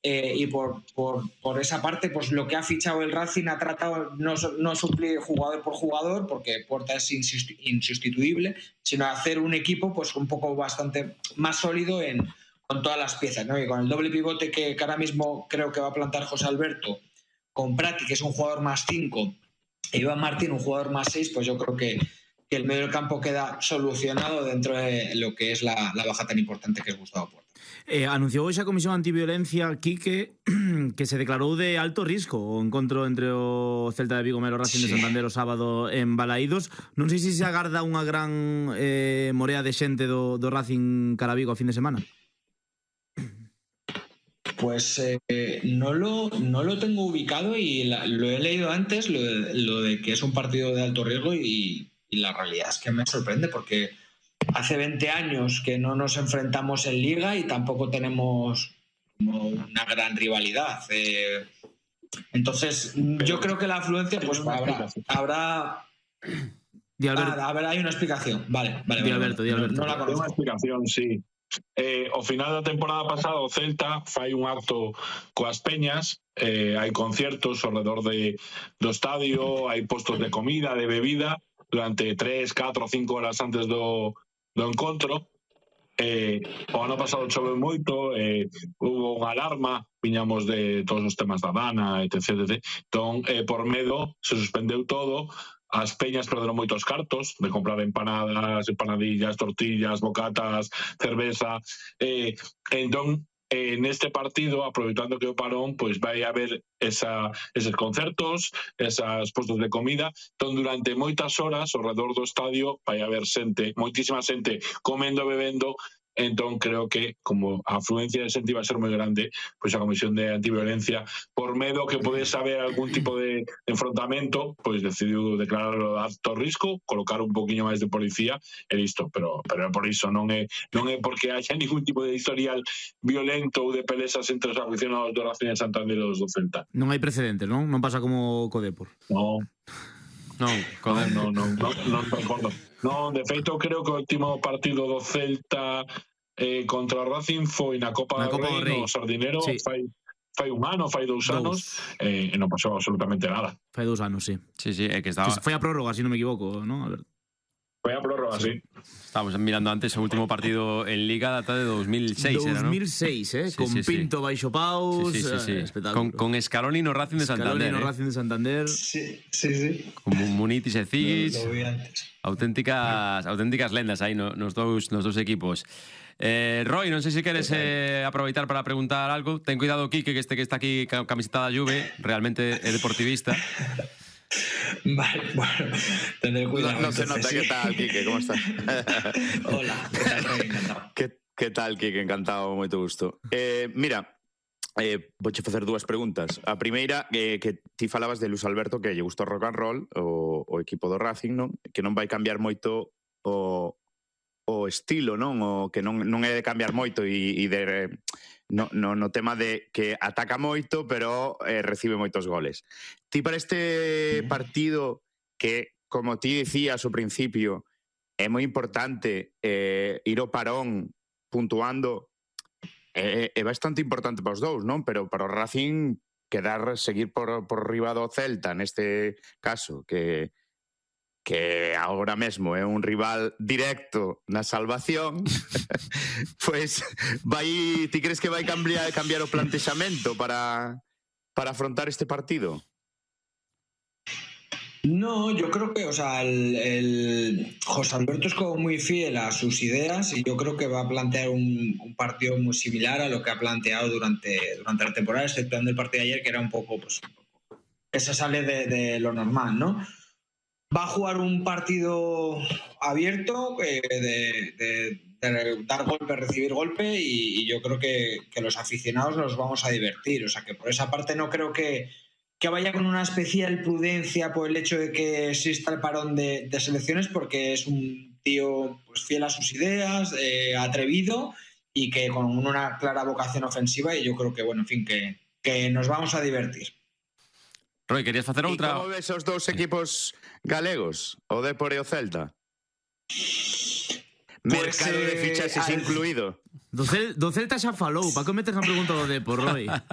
y por esa parte, pues lo que ha fichado el Racing ha tratado no suplir jugador por jugador, porque Porta es insustituible, sino hacer un equipo pues un poco bastante más sólido con todas las piezas, ¿no? Y con el doble pivote que ahora mismo creo que va a plantar José Alberto, con Prati, que es un jugador más 5, e Iván Martín, un jugador más 6, pues yo creo que el medio del campo queda solucionado dentro de lo que es la baja tan importante que es Gustavo Porta. Anunciou hoxe a Comisión Antiviolencia, Quique, que se declarou de alto risco o encontro entre o Celta de Vigo e o Racing de Santander o sábado en Balaídos. Non sei se se agarda unha gran morea de xente do Racing cara Vigo a fin de semana. Pues no lo tengo ubicado y lo he leído antes, lo de que es un partido de alto riesgo, y la realidad es que me sorprende porque hace 20 años que no nos enfrentamos en Liga y tampoco tenemos como una gran rivalidad. Entonces, yo creo que la afluencia, pues habrá. A ver, hay una explicación. Vale. Di Alberto. No la conozco. Unha explicación, sí. Ao final da temporada pasada o Celta fai un acto coas peñas, hai conciertos ao redor do estadio, hai postos de comida, de bebida durante 3, 4, 5 horas antes do encontro. O ano pasado choveu moito, hubo unha alarma, viñamos de todos os temas da Dana, etc. Entón, por medo, se suspendeu todo. As peñas perderon moitos cartos de comprar empanadas, empanadillas, tortillas, bocatas, cerveza. Entón, neste partido, aproveitando que o parón, pois vai haber eses concertos, esas postos de comida. Entón, durante moitas horas, ao redor do estadio, vai haber xente, moitísima xente, comendo e bebendo. Entón, creo que, como a afluencia de xente iba a ser moi grande, pois a Comisión de Antiviolencia, por medo que podese haber algún tipo de enfrontamento, pois decidiu declararlo de alto risco, colocar un poquinho máis de policía e listo. Pero por iso non é porque haya ningún tipo de historial violento ou de pelesas entre os aficionados do Racing de Santander e os do Celta. Non hai precedentes, non? Non pasa como co Depor. Non, recordo. Non, de feito, creo que o último partido do Celta contra o Racing foi na Copa do Rei, no Sardinero, sí. Fai un ano, fai 2 anos, e non pasou absolutamente nada. Fai 2 anos, sí. Sí, é que estaba... Foi a prórroga, se non me equivoco, non? A ver. Foi a prórroga, sí. Estábamos mirando antes o último partido en Liga, data de 2006, 2006, con Pinto baixo paus, espectáculo. Con Escaloni no Racing de Santander. Escaloni no Racing de Santander. Sí. Con Munitis e Cis. Lo vi antes. Auténticas lendas aí nos dous equipos. Roy, non sei se queres aproveitar para preguntar algo. Ten cuidado, Quique, que este que está aquí con camiseta da Juve realmente é deportivista. Vale, bueno, tendré cuidado. No se nota. ¿Qué tal, Quique? ¿Cómo estás? Hola, ¿qué tal, Roy? Encantado. ¿Qué tal, Quique? Encantado, moito gusto. Mira, vouche facer 2 preguntas. A primeira, que ti falabas de Luis Alberto, que lle gustou rock and roll, o equipo do Racing, non? Que non vai cambiar moito o estilo, non? O que non é de cambiar moito e de... No tema de que ataca moito, pero recibe moitos goles. Ti para este partido, que, como ti dicías ao principio, é moi importante ir ao parón puntuando, é bastante importante para os dous, non? Pero para o Racing seguir por riba do Celta, neste caso, que agora mesmo é un rival directo na salvación, pois ti crees que vai cambiar o plantexamento para afrontar este partido? No, yo creo que, o sea, el José Alberto es como muy fiel a sus ideas y yo creo que va a plantear un partido muy similar a lo que ha planteado durante la temporada, exceptuando el partido de ayer, que era un poco, pues, que se sale de lo normal, ¿no? Va a jugar un partido abierto, de dar golpe, recibir golpe, y yo creo que los aficionados nos vamos a divertir. O sea, que por esa parte no creo que vaya con una especial prudencia por el hecho de que exista el parón de selecciones, porque es un tío, pues, fiel a sus ideas, atrevido, y que con una clara vocación ofensiva, y yo creo que, bueno, en fin, que nos vamos a divertir. Roy, querías facer outra? E como ves os dous equipos galegos, o Depor e o Celta? Mercado de fichaxes incluído. Do Celta xa falou, para que metes a pregunta do Depor, Roy?